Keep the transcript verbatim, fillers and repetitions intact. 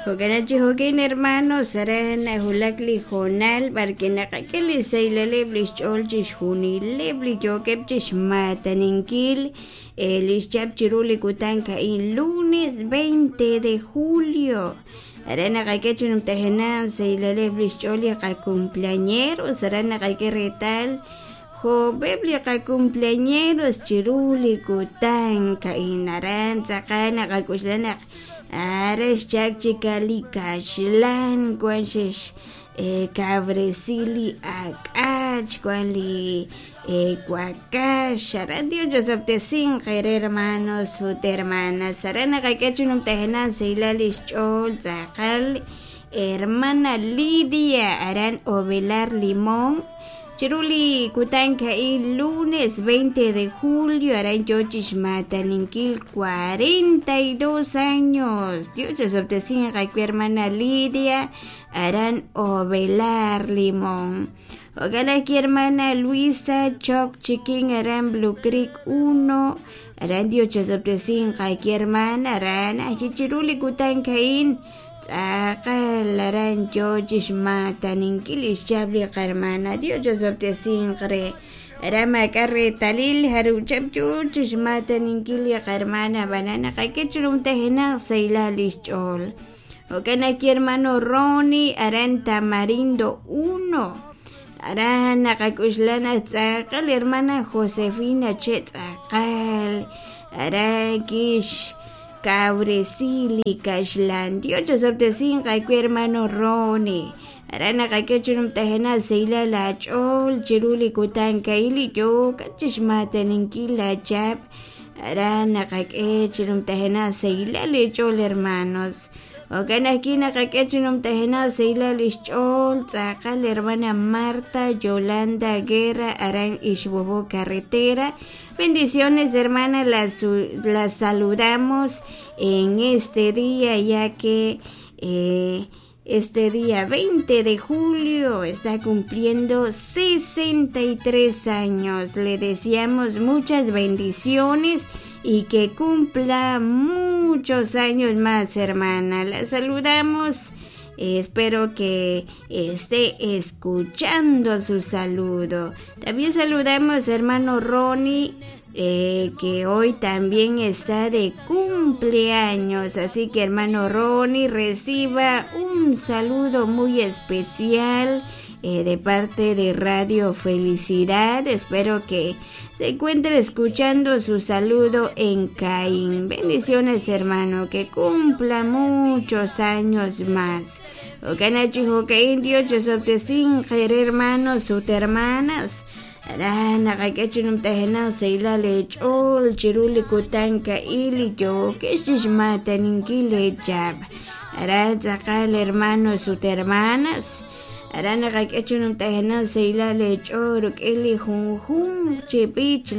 Jo'kan chi jo'kin hermanos aran nahulak li hoonal b'arki naqak'e li saylaleb' li xch'ool chixjunileb' li yookeb' chixmataninkil li xchap chiru li kutan ka'in lunes veinte de julio aran naqak'e chi numtajenaq saylaleb' li xch'ool li qacumpleañeros aran naqak'e reetal jo'b'eb' li qacumpleañeros chiru li kutan ka'in aran tz'aqal naqak'uxla naq ara xchak chika li kaxlan wan xex kawresi li ak'ach wan li wakax aran Dios chosob'tesinq re hermanos ut hermanas aran naqak'e chi numtajenaq saylal li xch'ool tz'aqal hermana Lidia aran Ovelar Limón chiru li kutan ka'in lunes veinte de julio aran yoo chixmataninkil cuarenta y dos años Dios chosob'tesinq awi hermana Lidia aran Ovelar Limón jo'kan ajwi' hermana Luisa Choc Chiquín aran Blue Creek uno aran Dios chosob'tesinq awi hermana aran ajwi' chiru li kutan ka'in tz'aqal aran yoo chixmataninkil li xchap li qarmana Dios chosob'tesinq re aran maak'a' reetalil jaruchap yoo chixmataninkil li qarmana b'anan naqak'e chi numtajenaq saylal li xch'ool jo'kan ajwi' hermano Ronnie aran Tamarindo uno aran naqak'uxla naq tz'aqal hermana Josefina che tz'aqal aran kix kawresi li kaxlan Dios chosob'tesinq awi hermano Ronnie aran naqak'e chi numtajenaq saylal aach'ool chiru li kutan ka'in li yookat chixmataninkil laachap aran naqak'e chi numtajenaq saylal li ch'ool hermanos jo'kan ajwi' naqak'e chi numtajenaq saylal li xch'ool tz'aqal hermana Marta Yolanda Guerra aran Ixbobo Carretera. Bendiciones, hermana, las, las saludamos en este día, ya que eh, este día veinte de julio está cumpliendo sesenta y tres años. Le deseamos muchas bendiciones y que cumpla muchos años más, hermana. La saludamos. Eh, espero que esté escuchando su saludo. También saludamos hermano Ronnie, eh, que hoy también está de cumpleaños. Así que hermano Ronnie, reciba un saludo muy especial eh, de parte de Radio Felicidad. Espero que se encuentre escuchando su saludo en Caín. Bendiciones, hermano, que cumpla muchos años más. Okanachi jokain Dios chosob'tesinq hermanos ut hermanas. Aran naqak'e numtajenaq saylal lech'ool chiru li kutan ka'in li yookeb' chixmataninkil lechap. Aran tz'aqal hermanos ut hermanas. Aran naqak'e numtajenaq saylal lech'ool ruk'in li junjun chi b'ich.